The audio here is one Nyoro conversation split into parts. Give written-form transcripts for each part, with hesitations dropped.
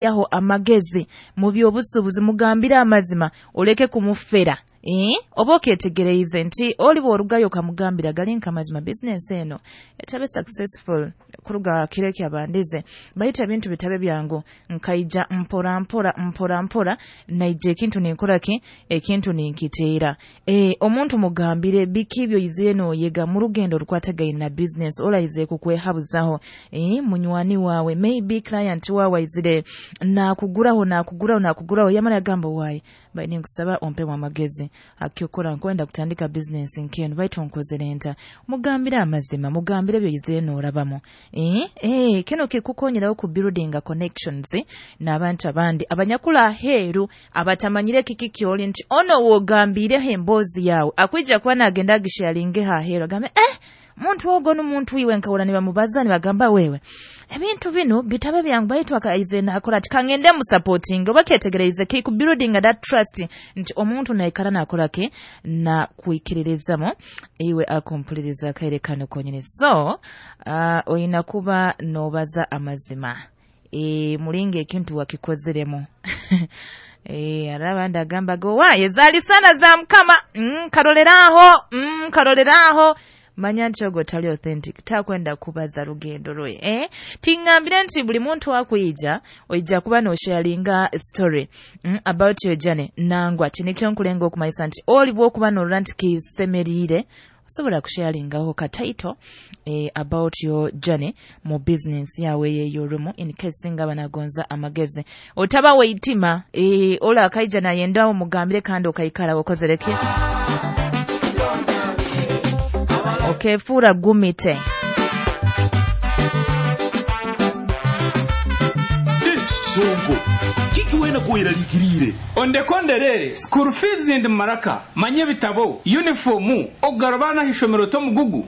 Yaho amagezi mu by'obusuubuzi, mugambire amazima, oleke kumufera. Oba oketegereize nti oli bw'orugayo okamugambira gali nk'amazima, bizinesi eno etabe successful kuruga kiro ekyabandize, baitu ebintu bitabe byangu, nkaija mpora mpora mpora mpora, naija ekintu ninkora ki, ekintu ninkiteera. Omuntu mugambire biki byoizire nooyega mu rugendo orukwatagaine na bizinesi oraize kukwehabuzaho. Munywani waawe, maybe client waawe aizire naakuguraho, naakuguraho, naakuguraho, yamara yagamba, "Waayi, bai ninkusaba ompemu amagezi akyokora, nkwenda kutandika bizinesi nk'enu, baitu nkozere nta?" Mugambire amazima, mugambire ebyoizire noorabamu. Kinu kikukonyeraho ku building connections n'abantu abandi abanyakula aheeru abatamanyire kiki kyoli, nti ono wogambiireho emboozi yaawe akwija kuba naagenda agisharingeho aheeru, agambe, "Muntu ogo n'omuntu iwe nkahura nibamubaza, nibagamba wewe ebintu binu bitabe byangu, baitu akaize nakora ati, kangende musupporting." Oba ketegereize ki building that trust nti omuntu naikara nakora ki, na kwikiririzamo iwe akumpuliriza akaire kano konyini. So oyina kuba nobaza amazima, mulinga ekintu wakikozeremu. Hari abandi agamba go waye zaali sana za mukama, karoleraho, karoleraho. Manya nti ogwo tali authentic, takwenda kubaza rugendo rwe. Tingambire nti buli muntu akwija oija kuba nosharinga story about your journey. Nangwa tinikyo nkulenga okumanyisa nti oli bwokuba norora nti kisemeriire, osobola kusharingaho ka title about your journey mu business yawe y'orumu, in case singa banagonza amagezi. Otaba weitima, ola akaija nayenda omugambire kandi okaikara okozereke okefuura gumite. Sonko, kiki wena kuweralikirire? Ondekonderere school fees ndi maraka, manye ebitabo, uniformu, okugarabana ishomero tomugugu.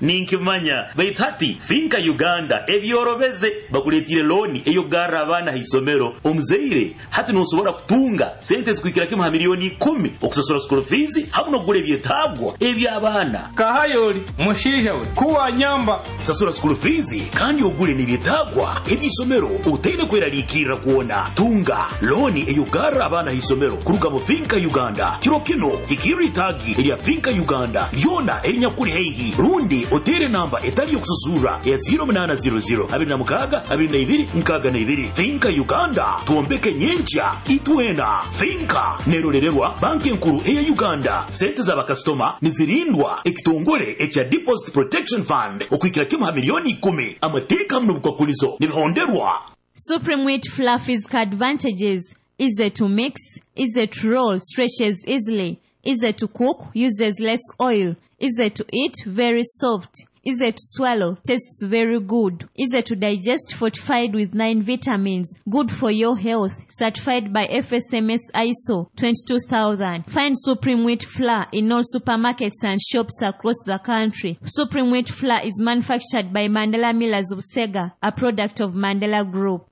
Ninkimanya, baitu hati Finka Uganda ebyorobeze, bakuletire looni eyokugarra abaana ha isomero. Omuzaire hati nosobora kutunga sente zikuhikira kimu ha miliyoni 10 okusasura school fees hamu n'okugura ebyetaagwa eby'abaana. Kahayoli mushiija we kuwanyamba. Sasura school fees kandi ogule n'ebyetaagwa eby'isomero otaine kweraliikirra kwona. Tunga looni eyokugarra abaana ha isomero kuruga mu Finka Uganda. Kiro kino hikirra itaagi erya Finka Uganda lyona erinyakuli haihi, rundi otere namba etali yokususurra ya 0800 26 22 62. Finka Uganda, twombeke nyenkya itwena. Finka nerorererwa banki enkuru eya Uganda. Sente z'abakasitoma nizirindwa ekitongole ekya Deposit Protection Fund okuhikira kimu ha miliyoni 10. Amateeka hamu n'obukwakulizo nibihonderwa. Supreme Wheat Fluffy's advantages: easy to mix, easy to roll, stretches easily, easy to cook, uses less oil, easy to eat, very soft, easy to swallow, tastes very good, easy to digest, fortified with 9 vitamins, good for your health, certified by FSMS ISO 22000. Find Supreme Wheat Flour in all supermarkets and shops across the country. Supreme Wheat Flour is manufactured by Mandela Millers of Sega, a product of Mandela Group.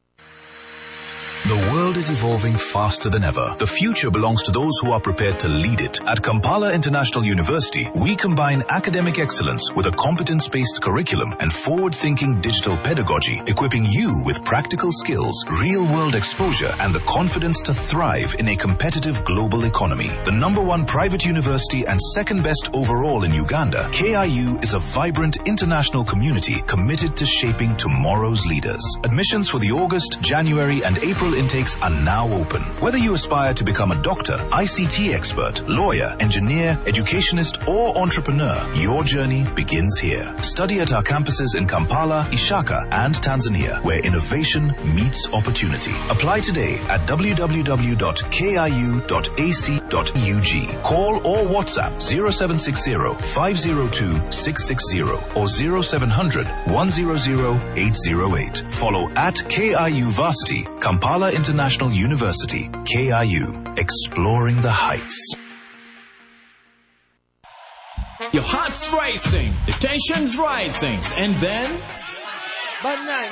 The world is evolving faster than ever. The future belongs to those who are prepared to lead it. At Kampala International University, we combine academic excellence with a competence-based curriculum and forward-thinking digital pedagogy, equipping you with practical skills, real-world exposure, and the confidence to thrive in a competitive global economy. The number one private university and second best overall in Uganda, KIU is a vibrant international community committed to shaping tomorrow's leaders. Admissions for the August, January, and April intakes are now open. Whether you aspire to become a doctor, ICT expert, lawyer, engineer, educationist, or entrepreneur, your journey begins here. Study at our campuses in Kampala, Ishaka, and Tanzania, where innovation meets opportunity. Apply today at www.kiu.ac.ug. Call or WhatsApp 0760 502 660 or 0700 100 808. Follow at KIU Varsity, Kampala International University, KIU, exploring the heights. Your heart's racing, the tension's rising, and then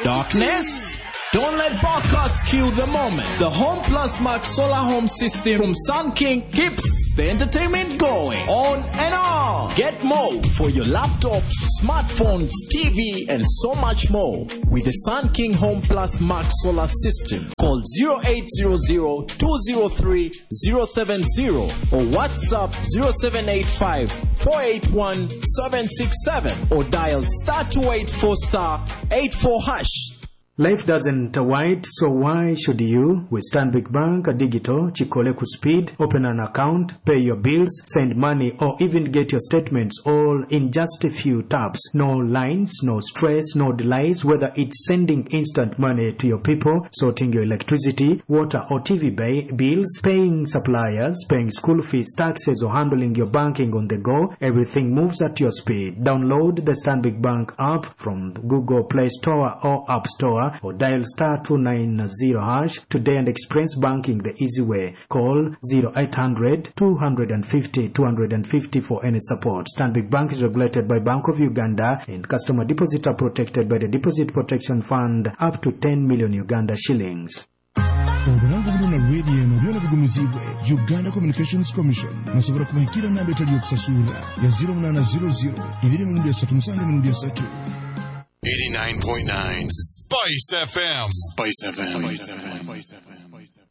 darkness. Don't let barcodes kill the moment. The Home Plus Max Solar Home System from Sun King keeps the entertainment going on and on. Get more for your laptops, smartphones, TV, and so much more with the Sun King Home Plus Max Solar System. Call 0800 203 070 or WhatsApp 0785 481 767 or dial star 284 star 84 hash. Life doesn't wait, so why should you? With Stanbic Bank Digital, Chikole ku speed, open an account, pay your bills, send money, or even get your statements all in just a few taps. No lines, no stress, no delays, whether it's sending instant money to your people, sorting your electricity, water or TV bills, paying suppliers, paying school fees, taxes, or handling your banking on the go, everything moves at your speed. Download the Stanbic Bank app from Google Play Store or App Store or dial star 290 hash today and experience banking the easy way. Call 0800 250 250 for any support. Stanbic Bank is regulated by Bank of Uganda and customer deposits are protected by the Deposit Protection Fund up to 10 million Uganda shillings. Obulango buno na rediyo eno byona bigumizibwe Uganda Communications Commission. Musobola kubahikira namba etali yokusasulira ya 0800 2 7 3. 89.9 Spice FM. Spice FM. Spice FM.